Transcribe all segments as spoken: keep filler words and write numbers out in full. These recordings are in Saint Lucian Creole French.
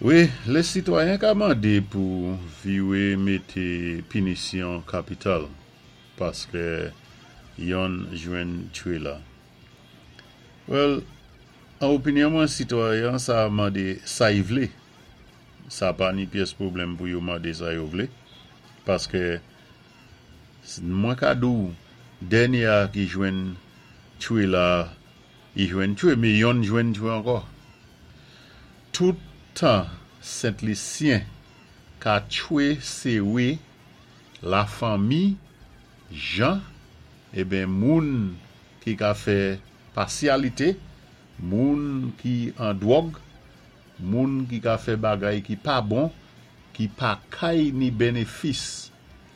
Wi, lé sitwayen ka mandé pou viwé mété pinisyon kapital paské yonn jwenn trela. Well, an opinyon mwen sitwayen sa mandé sa y vlé. Sa pa ni pyès pwoblèm pou yo mandé sa yo vlé paské mwen ka di-w dènyé a ki jwenn trela i jwenn twe, mé yonn jwenn twe ankò. Tout tan Sent Lisyen ka twe séwé la fanmi jan eben moun ki ka fè pasyalité, moun ki an dwòg, moun ki ka fè bagay ki pa bon, ki pa kay ni benefis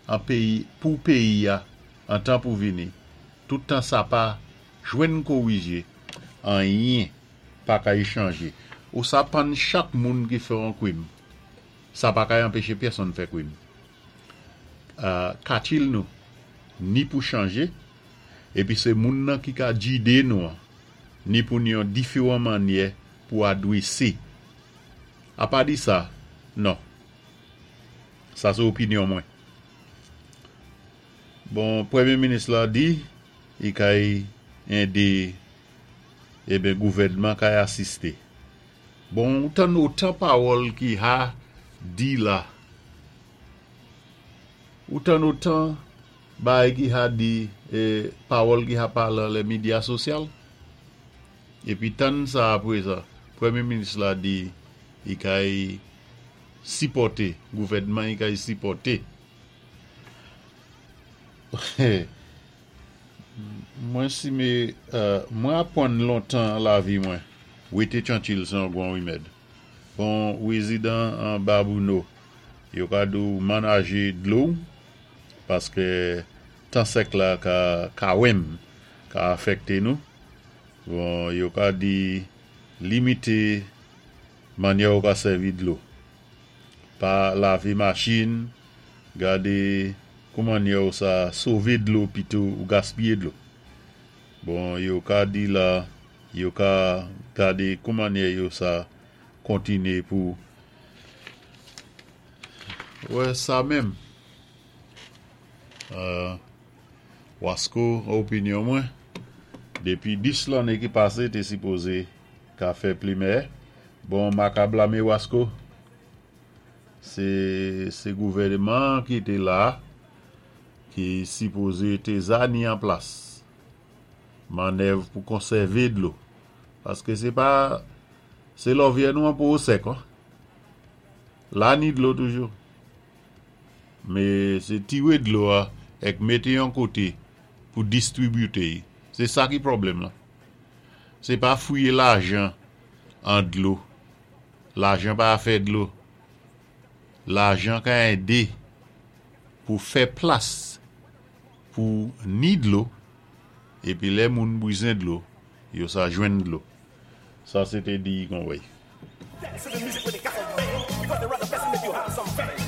an péyi pou péyi a an tan pou vini. Tout tan sa pa jwenn kowijé, anyen pa kay chanjé. Ou sa pann chak moun ki fè an kwim. Sa pa kay anpéché pèsonn fè kwim. Euh, katil nou, ni pou chanjé, épi sé moun nan ki ka jidé nou an, ni pou ni yon diféwan mannyè pou adwésé. Apa di sa, non. Sa sé opinyon mwen. Bon, Pwémyé Minis la di, i kay édé, eben gouvèdman kay asisté. Bon, ou tann otan pawòl ki ha di la. Ou tann otan bagay ki ha di é pawòl ki ha palé lé medya sosyal. Épi tann sa apwé sa, Pwémyé Minis la di i kay sipòté, gouvèdman i kay sipòté. Mwen si mé, euh, mwen apwann lontan lavi mwen, wété twankil sé yon gwan wimèd. Bon, wézidan an Babouno, yo ka di-w manajé dlo paské tan sèk la ka kawèm ka afèkté nou. Bon, yo ka di limité mannyè ou ka sèvi dlo. Pa lavé machin, gadé kou mannyè ou sa sové dlo pito ou gaspiyé dlo. Bon, yo ka di la, yo ka gadé kou mannyè yo sa kontiné pou wè sa menm. Euh, Wasko, opinyon mwen, dépi dis lanné ki pasé té sipozé ka fè plimè. Bon, ma ka blamé Wasko. Sé sé gouvèdman ki té la ki sipozé té za ni an plas mannèv pou konsèvé dlo. Paské sé pa sé lòvyè nou an pou sèk an. La ni dlo toujou. Mé sé tiwé dlo a èk mété yon koté pou distribité. Sé sa ki pwoblèm la. Sé pa fouyé lajan an dlo. Lajan pa fè dlo. Lajan ka édé pou fè plas pou ni dlo épi lè moun bizwen dlo, yo sa jwenn dlo. Sa sé té di kon wèy. Dance to the music when they got some bang. Because they're rather best and make you have some fame.